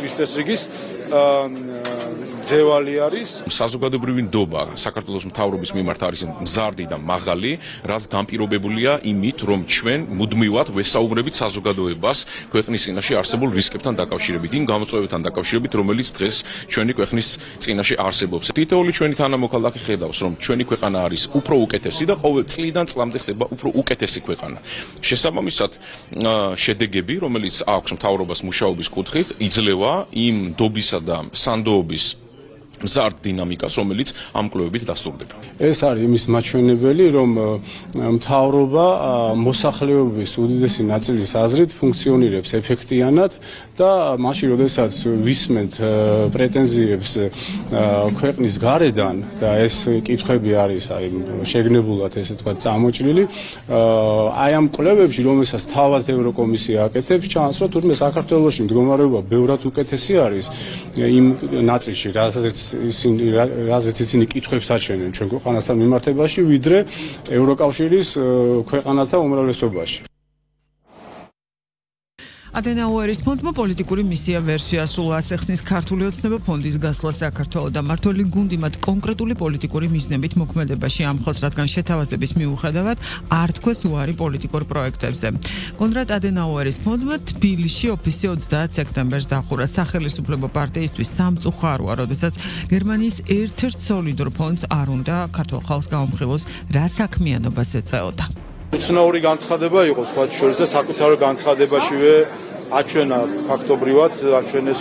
დღის წესრიგის ძევალი არის. საზოგადოებრივი ნდობა საქართველოს მთავრობის მიმართ არის მზარდი და მაღალი, რაც განპირობებულია იმით, რომ ჩვენ მუდმივად ვესაუბრებით საზოგადოებას ქვეყნის წინაშე არსებულ რისკებთან დაკავშირებით, იმ გამოწვევებთან დაკავშირებით, რომელიც დღეს ჩვენი ქვეყნის წინაშე არსებობს. თითოეული ჩვენი თანამოქალაქე ხედავს, რომ ჩვენი ქვეყანა არის უფრო უკეთესი და ყოველ წლიდან წლამდე ხდება უფრო უკეთესი ქვეყანა. შესაბამისად, შედეგები, რომელიც აქვს მთავრობას მუშაობის კუთხით, იძლევა იმ ნდობისა და სანდოობის მზარდ დინამიკას, რომელიც ამ კვლევებით დასტურდება. ეს არის იმის მაჩვენებელი, რომ მთავრობა მოსახლეობის უდიდესი ნაწილის აზრით ფუნქციონირებს ეფექტიანად და მაშინ, როდესაც ვისმენთ პრეტენზიებს ქვეყნის გარედან და ეს კითხვები არის შეგნებულად ესე თქვა წამოჭრილი, აი ამ კვლევებში, რომელსაც თავად ევროკომისია აკეთებს, ჩანს, რომ თურმე საქართველოში მდგომარეობა ბევრად უკეთესი არის იმ ნაწილში, რაზეც ისინი კითხვებს აჩვენენ ჩვენ ქვეყანასთან მიმართებაში, ვიდრე ევროკავშირის ქვეყანათა უმრავლესობაში. ადენაუერის ფონდმა პოლიტიკური მისია ვერ შეასრულა. ახსნის ქართული ოცნება ფონდის გასვლა საქართველოს და მმართველი გუნდი მათ კონკრეტული პოლიტიკური მიზნებით მოქმედებაში ამხელს, რადგან შეთავაზების მიუხედავად არ თქვეს უარი პოლიტიკურ პროექტებზე. კონრად ადენაუერის ფონდმა თბილისში ოფისი 30 სექტემბერს დახურა. სახელმწიფო პარტიისთვის სამწუხაროა, როდესაც გერმანიის ერთ-ერთ სოლიდურ ფონდს არ უნდა ქართულ ხალხს გაუმხილოს, რა საქმიანობას ეწეოდა. უცნაური განცხადება იყო სხვა შორის და საკუთარ განცხადებაშივე აჩვენა ფაქტობრივად აჩვენეს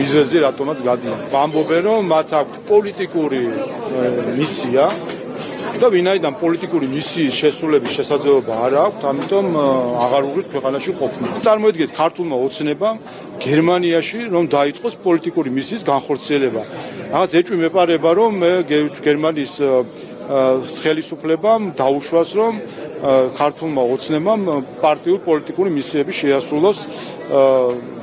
მიზეზი რატომაც გადიან. ამბობენ, რომ მათ აქვთ პოლიტიკური მისია და ვინაიდან პოლიტიკური მისიის შესრულების შესაძლებლობა არ აქვთ, ამიტომ აღარ უღირთ ქვეყანაში ყოფნა. წარმოიდგინეთ ქართულმა ოცნებამ გერმანიაში რომ დაიწყოს პოლიტიკური მისიის განხორციელება. რაღაც ეჭვი მეპარება, რომ გერმანიის ხელისუფლებამ დაუშვას, რომ ქართულმა ოცნებამ პარტიულ პოლიტიკური მისიები შეასრულოს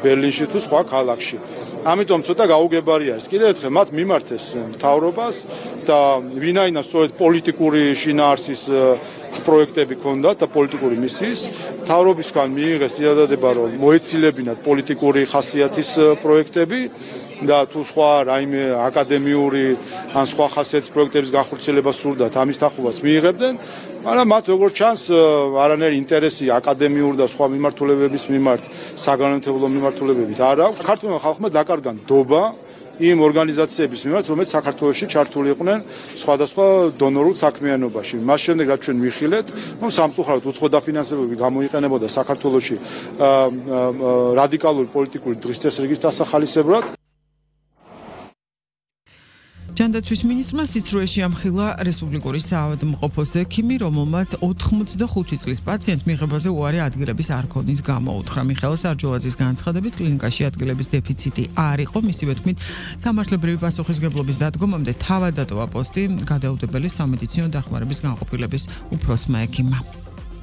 ბერლინში თუ სხვა ქალაქში. ამიტომ ცოტა გაუგებარი არის. კიდევ ერთხელ მათ მიმართეს მთავრობას და ვინაიდან სწორედ პოლიტიკური შინაარსის პროექტები ჰქონდათ და პოლიტიკური მისიის, მთავრობისგან მიიღეს წინადადება, რომ მოეცილებინათ პოლიტიკური ხასიათის პროექტები და თუ სხვა რაიმე აკადემიური ან სხვა ხასიათის პროექტების განხორციელება სურდათ, ამის თანხმობას მიიღებდნენ, მაგრამ მათ როგორც ჩანს არანაირი ინტერესი აკადემიურ და სხვა მიმართულებების მიმართ, საგანმანათლებლო მიმართულებებით არ აქვს. ქართულმა ხალხმა დაკარგა ნდობა იმ ორგანიზაციების მიმართ, რომელიც საქართველოში ჩართული იყვნენ სხვადასხვა დონორულ საქმიანობაში. მას შემდეგ რაც ჩვენ ვიხილეთ, რომ სამწუხაროდ უცხო დაფინანსებები გამოიყენებოდა საქართველოში რადიკალური პოლიტიკური დღის წესრიგის დასახალისებლად. ჯანდაცვის მინისტრმა სიცრუეში ამხილა რესპუბლიკური საავადმყოფოს ექიმი, რომელმაც 85 წლის პაციენტს მიღებაზე უარი ადგილების არ ქონის გამოუთხრა. მიხეილ სარჯულაძის განცხადებით, კლინიკაში ადგილების დეფიციტი არ იყო, მისივე თქმით, სამართლებრივი პასუხისმგებლობის დადგომამდე თავად დატოვა პოსტი გადაუდებელი სამედიცინო დახმარების განყოფილების უფროსმა ექიმმა.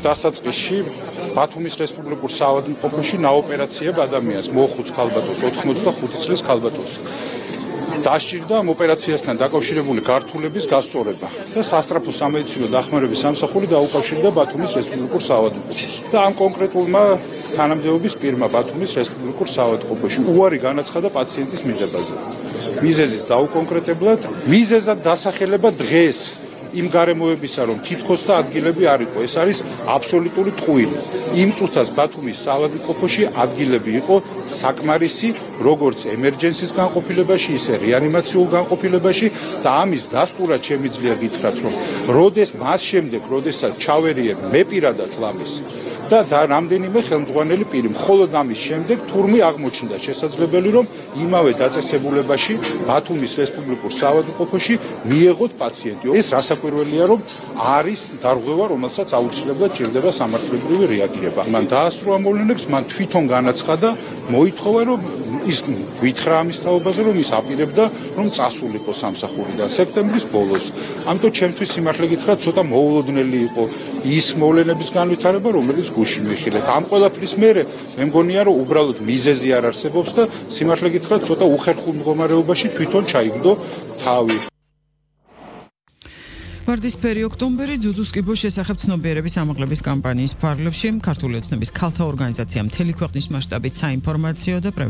დასაწყისში ბათუმის რესპუბლიკურ საავადმყოფოში ნაოპერაციებ ადამიანს მოხუც ქალბატონს 85 წლის ქალბატონს დასჭირდა ამ ოპერაციასთან დაკავშირებული გართულების გასწორება და სასწრაფო სამედიცინო დახმარების სამსახური დაუკავშირდა ბათუმის რესპუბლიკურ საავადმყოფოს. და ამ კონკრეტულმა თანამდებობის პირმა ბათუმის რესპუბლიკურ საავადმყოფოში უარი განაცხადა პაციენტის მიღებაზე. მიზეზის დაუკონკრეტებლად, მიზეზად დასახელება დღეს იმ გარემოებისა, რომ თითქოს და ადგილები არ იყო. ეს არის აბსოლუტური ტყუილი. იმ წუთას ბათუმის საავადმყოფოში ადგილები იყო საკმარისი, როგორც ემერჯენსის განყოფილებაში, ისე რეანიმაციულ განყოფილებაში და ამის დასტურად შემიძლია გითხრათ, რომ მას შემდეგ, როდესაც ჩავერიებ მე პირადად ლამის და რამდენიმე ხელმძღვანელი პირი, მხოლოდ ამის შემდეგ თურმე აღმოჩნდა შესაძლებელი, რომ იმავე დაწესებულებაში ბათუმის რესპუბლიკურ საავადმყოფოში მიეღოთ პაციენტი. ეს რასაკვირველია, რომ არის დარღვევა, რომელსაც აუცილებლად ჭირდება სამართლებრივი რეაგირება. მან დაასრულა მოვლენებს, მან თვითონ განაცხადა, მოითხოვა, რომ ის გითხრა ამის თაობაზე, რომ ის აპირებდა, რომ წასულიყო სამსახურიდან სექტემბრის ბოლოს. ამიტომ ჩემთვის სიმართლე გითხრათ, ცოტა მოულოდნელი იყო ის მოვლენების განვითარება, რომელიც გუში მიხილეთ. ამ ყველაფრის მერე მე მგონია, რომ უბრალოდ მიზეზი არ არსებობს და სიმართლე გითხრათ, ცოტა უხერხულ მდგომარეობაში თვითონ ჩაიგდო თავი. ვარდისფერი ოქტომბერი ძუძუს კიბოს შესახებ ცნობიერების ამაღლების კამპანიის ფარგლებში ქართული ოცნების ქალთა ორგანიზაცია მთელი ქვეყნის მასშტაბით საინფორმაციო და